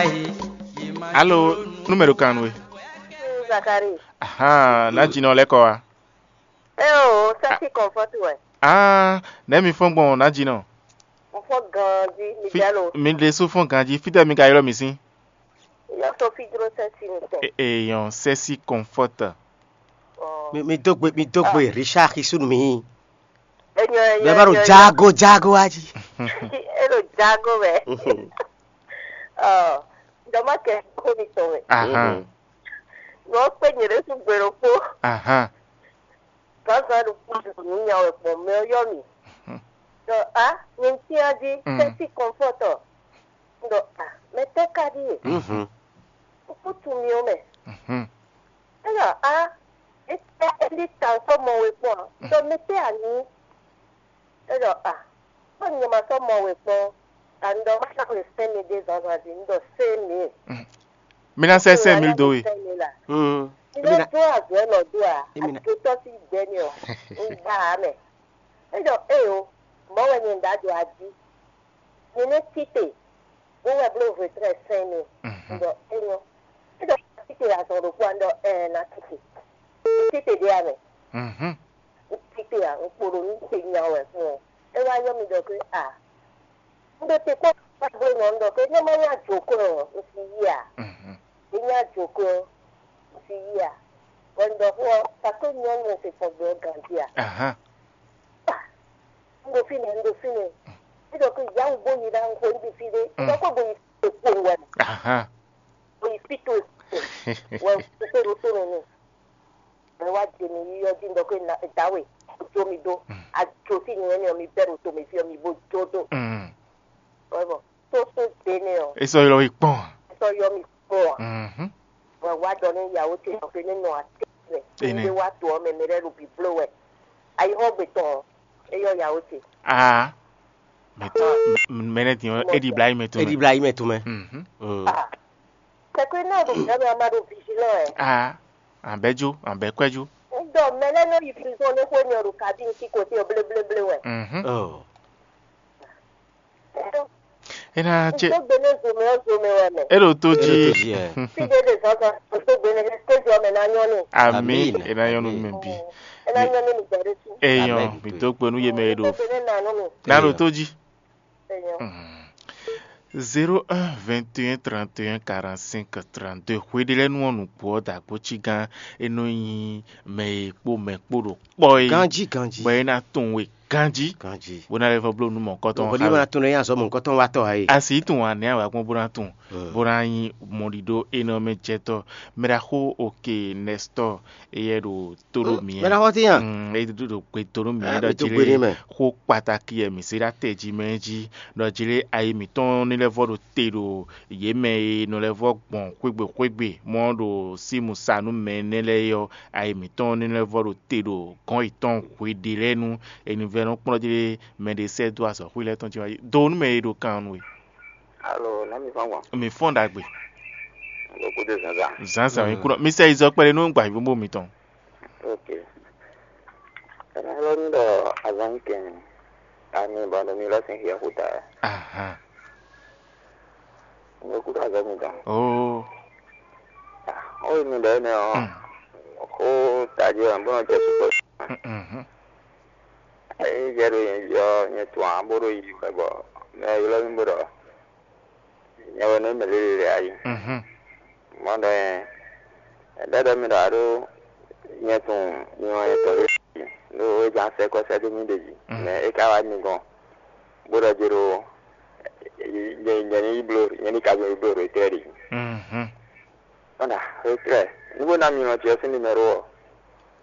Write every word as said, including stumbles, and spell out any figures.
Alo, nú mɛ ɖo kan nú we. Zakari. Ahan, ná jinɔ lɛ́ kɔ wá. Eo, sɛ́sí kɔnfɔ́ti wɛ. Ah, nɛ̌ mi fɔ́n gbɔn ná jinɔ? Mo fɔ́n ganjí, mi Fi- jalo. Mi ɖésú fɔ́n ganjí, fítɛ́ mi ka ylɔ́ mi sín? Yɔ Sofi jló sɛ́sí mi tɛ. E- Eyɔn sɛ́sí kɔnfɔ́tɔ. Ɔ. Mi mi dó gbe mi dó gbe Richard xisúnu mi. Enyɔ enyɔ. Bɛɛ bá ɖo enyɔ, enyɔ. Jágo jágo wá jí. E ɖo jágo mɛ. Ɔ, dɔmɔ kɛ kó mi tɔn mɛ. Ahan. Wọ́n pé nyě ɖésú gbe ɖokpó. Ahan. Gǎnzǎn ɖokpó ɖo nǔ nya wɛ gbɔn mɛ ɔ́ yɔ mì. Ɖɔ á, nyi ŋ cyán jí, Mm. Sɛ́sí kɔnfɔ́tɔ. Un ɖɔ á, mɛ tɛ́ ka ɖíe? Mhm. Un kú tunwun mì ó mɛ. Mhm. É ɖɔ á, é tɛ́ é ɖí ta sɔ́ mɔ we kpɔ́n ǎ. Un ɖɔ mɛ tɛ́ a nyí? É ɖɔ a, kpɔ́n nyɛ ma sɔ́ mɔ we kpɔ́n, a un ɖɔ má ná xwe sɛ́n mi ɖé zǎnzǎn jí, un ɖɔ sɛ́n mi. Mi ná sɛ́ sɛ́n mi dó we. Sɛ́n mi la. Mm. Mi Emi ɖó na- dó azɔ̌ lɔ dó a, Emi na- ajotɔ́ sín gbɛ ni ɔ, un gba ǎ mɛ. É ɖɔ éyo, mɔ̌ wɛ nyɛ un ɖǎ ɖo ají. Nyɛ nɛ́ tite, bó wɛ bló vodrɛ́ sɛ́n mi. Mhm. Un ɖɔ é nyɔ́. É ɖɔ tite azɔn ɖokpó a, un ɖɔ ɛɛ ná tite. Tite ɖé a mɛ. Mhm. Tite a, un kpo ɖo nú te nya wɛ fún ɔ. É wá yɔ mi ɖɔ pé a, un ɖo te kpɔ́n kpɔ́n gbé nɔ un ɖɔ pé ní ma nya jǒkɔ ɔ, un si yí a. Mhm. É nya jǒkɔ ɔ, un si yí a. Bɔ un ɖɔ xó ɔ, sakó nyɔ́ nyɛ se fɔn gbé ɔ ganjí a. Ahan. Un ɖo fínɛ́, un ɖo fínɛ́. Un ɖɔ kó yǎwǔ bó yi ná xo níbi fí ɖé. Un ɖɔ kó bo yi fí kpowun wɛ. Ahan. Bo yi fí towe kpowun wɛ, un kpé ɖo tó mɛ n'i. Mɛ wá jɛ mi yi ɔ́ jí un ɖɔ kó na dǎwe, jó mi dó. Ajo sín nyɛ n'i ɔ́, mi bɛ́ ɖo to mɛ fí ɔ́, mi bó jó dó. Mm. Wɛ bɔ tó sún dé n'i ɔ́. É sɔ́ ylɔ́ we kpɔ́n. É sɔ́ ylɔ́ mi kpɔ́n ǎ. Mhm. Wɛ wá ɖɔ nú yǎwó ce ɖɔ pé ní nɔ atín mɛ. Énɛ́. Ní wá to ɔ́ mɛ, mɛ lɛ́ɛ ɖo bǐbló wɛ. Ayihɔ́gbe tɔn ɔ́, é yɔ yǎwó ce. Aa, mɛ tɔn, mɛ nɛ́ din ɔ́, é ɖi bla yi mɛ tɔn mɛ. É ɖi bla yi mɛ tɔn mɛ. Mhm. Mm. Ah. Kɛkɛ náà ɖo bǐbló mɛ, a ma ɖo vigilant ɛ. Aa, an bɛ́ jó, an bɛ́ kwɛ́ jó. Un ɖɔ mɛ lɛ́ɛ nɔ yi prison ní xwé mi ɔ́ ɖo kabín sí koté ɔ́ bléblé wɛ. Mhm. Oh. É ná cé. Tó gbe ní zomɛ ɔ́ zomɛ wɛ mɛ. É ɖo tó jí. Fídé ɖe zɔzɔ tó gbe ní kéjì ɔmɛ ná nyɔ́ ní. Amín. É ná nyɔ́ nú mi bí. É ná nyɔ́ ní mi gbɛdé sí. Eyɔn, mi dó gbe nú yé mɛ é ɖo. Tó gbe ní nà nú mi. Ná ɖo tó jí. Eyɔn. Zéro un vingt et un trente et un quarante-cinq trente-deux. Hweɖélɛ́nu ɔ́ nǔgbó ɔ́ dǎgbó cí gán é nɔ nyí mɛ e kpó mɛ kpó ɖo kpɔ́ é. Ganjí ganjí. Bɔ é ná tunwun we ganjí. Ganjí. Bó ná lɛ́ vɔ bló nú mɔ̌kɔtɔn. Bɔdí ma tunwun nya sɔ mɔ̌kɔtɔn wa tɔ ayi. A sì tunwun anɛ a wǎ gbɔn bó ná tunwun. Bó ná nyí mɔɖiɖó énɛ́ mɛ jɛtɔ́. Mɛɖaxó òkè Nɛstɔ́, éyɛ́ ɖo tó ɖo mǐ. Mɛɖaxó tín a? Mm, é ɖo ɖo gbe tó ɖo mǐ. Ah, ɖɔ mi tó jí gbe lé ní mɛ. Xó kpatáki e mǐ se ɖó atɛ jí mɛ é jí. Ɖɔ jí lé ayi mǐtɔn ní lɛ́ vɔ ɖo te ɖo yě mɛ e nɔ lɛ́ vɔ gbɔn xwégbe xwégbe mɔ ɖo símu sa nú mɛ énɛ́ lɛ́ɛ é ɔ́, ayi mǐtɔn ní lɛ́ vɔ ɖo te ɖo gɔ̌n yětɔn hweɖé lɛ́ɛ nú. Enivɛ́nɔ kplɔ́n jí lé mɛ ɖé sɛ́ dó azɔ̌xwí lɛ́ɛ tɔn jí wá yi do nú mɛ e ɖo kan nú we. Alo, nɛ̌ mi fɔ́n gbɔn? Mi fɔ́n ɖagbe. Ɖo kúdé zǎnzǎn. Zǎnzǎn mi kúnɔ. Mi sɛ yi zɔ kpɛɖé nú gbǎvíbówó mitɔn. Ok. Ɛnɛ lɔ ní ɖɔ azɔn kɛn ani bɔ ɖo mi lɔ sin hiɛ xuta. Ahan. Ɖo kúdé azɔn mi dɔn. Oo. Ó yi mi ɖɔ énɛ́ ɔ́. Hmm. Xó tají wɛ bó nɔ jɛ sukpɔ́. Mhm. Ényí jɛ ɖo nyɛ jí ɔ́, nyɛ tunwun ǎ bó ɖo yiyi wɛ bɔ mɛ e ylɔ́ mì bó ɖɔ nyɛ wɛ nɔ nyí mɛ lélele lɛ́ɛ a yi. Mhm. Mɔ̌ ɖɔ nyɛ ɖɛɖɛ mi ɖɔ a ɖó nyɛ tunwun nyɛ wɛ nyɛ tɔn lé ɖo é ján sɛ́ kɔ́ sɛ́ dó mì ɖe jí. Mhm. Mɛ é ka wá mi gɔn bó ɖɔ jɛ ɖo nyɛ nyɛ ní yi bló nyɛ ní ka zɔn yi bló ɖo étɛ́ ɖi. Mhm. Ɔ́ ɖa étɛ́ ní bó ná mi lɔn ce ɔ́ sín numéro ɔ́.